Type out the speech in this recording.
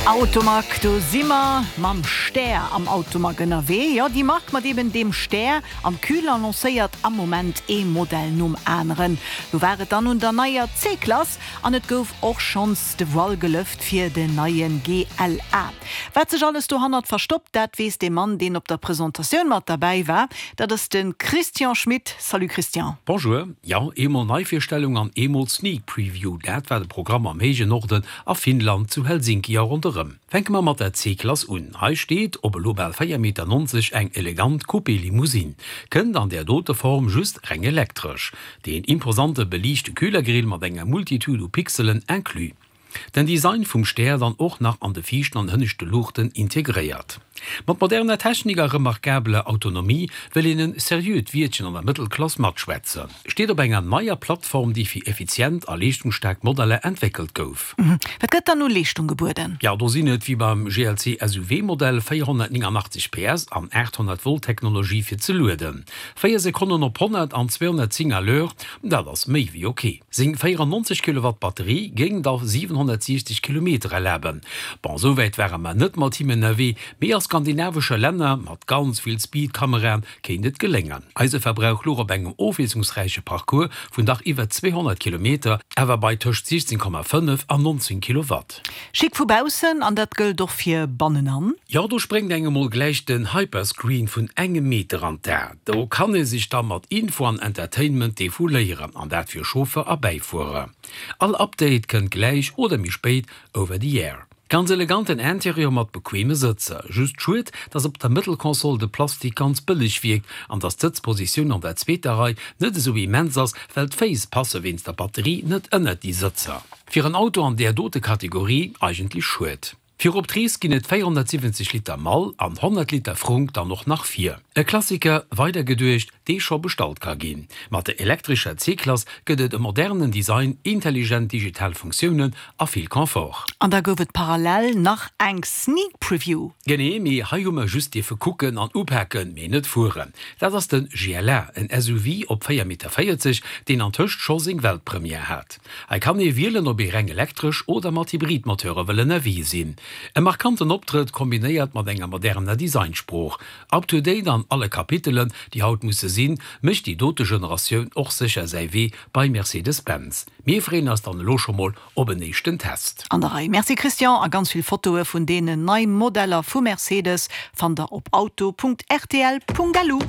Automag, do si mer mam Stär am Automag ënnerwee. Jo, déi Mark mat eben deem Stär am Kühler lancéiert am Moment ee Modell nom aneren. Lo war et dann un der neier C-Klass an et gouf och schonns de Voile gelëft fir den neie GLA. Wat sech alles dohannert verstoppt, dat weess dee Mann, deen op der Presentatioun mat derbäi war. Dat ass de Christian Schmit. Salut Christian. Bonjour. Jo, eemol Neivirstellung an eemol Sneak Preview, dat war de Programm am héijen Norden a Finnland, zu Helsinki a ronderëm. Fänke mer mat der C-Klass un. Hei steet, op elo bal 4,90 Meter, eng elegant Coupé-Limousine. Kënnt an där dote Form just reng elektresch. Deen imposante beliichte Kühlergrill mat enger Multitude u Pixelen inclus. Den Design vum Stär dann och nach an de viischten an hënneschte Luuchten integréiert. Mat moderner Technik a remarkabeler Autonomie wëll een en seriöt Wiertchen an der Mëttelklass matschwätzen. Steet op enger neier Plattform, déi fir effizient a leeschtungsstaark Modeller entwéckelt gouf. Wat gëtt dann u Leeschtung gebueden? Jo, do sinn et wéi beim GLC SUV Modell 489 PS an 800 Volt Technologie fir ze lueden. 4 Sekonnen op 100 an 210 à l'heure, dat ass méi wéi ok. Seng 94 Kilowatt Batterie géing da 760 Kilometer erlaben. Bon, esou wäit ware mer net mat him ënnerwee, mee a skandinavesche Länner mat ganz vill Speedkameraen kéint et geléngen. Eise Verbrauch louch op engem ofwiesslungsräiche Parcours vun dach iwwer 200 Kilometer, awer bei tëscht 16,5 an 19 Kilowatt. Chic vu baussen, an dat gëllt och fir bannenan. Jo, do spréngt engem mol gläich den Hyperscreen vun engem Meter an d'A. Do kann ee sech da mat Info an Entertainment defouléieren, an dat fir Chauffeur a Bäifuerer. All Update kënnt gläich oder méi spéit over the air. Ganz eleganten Interieur mat bequeme Sëtzer. Just schued, dass op der Mëttelkonsole de Plastik ganz bëlleg wierkt an dass d'Sëtzpositioun an der zweeter Rei net esou immens ass, well d'Féiss passe wéinst der Batterie net ënnert déi Sëtzer. Fir en Auto an där dote Kategorie eigentlech schued. Fir op d'Rees ginn et 470 Liter Mall an 100 Liter Frunk dann och nach vir. E Klassiker, weider geduecht, dee scho bestallt ka ginn. Mat der elektrescher C-Klass gëtt et e modernen Design, intelligent digital Funktiounen a vill Confort. An da gouf et parallel nach eng Sneak Preview. Genee, mee hei hu mer just dierfe kucken an upaken, mee net fueren. Dat ass de GLA, en SUV op 4,40 Meter, deen antëscht scho seng Weltpremière hat. Hei kann ee wielen, ob ee reng elektresch oder mat Hybridmoteure wëll ënnerwee sinn. E markanten Optrëtt, kombinéiert mat enger moderner Designsprooch. Up to date an alle Kapitelen, déi haut musse sinn, mécht déi dote Generatioun och sécher säi Wee bei Mercedes-Benz. Mir freeën eis dann elo scho mol op en éischten Test. An der Rei. Merci Christian, a ganz vill Fotoe vun deenen nei Modeller vu Mercedes fannt der op auto.rtl.lu.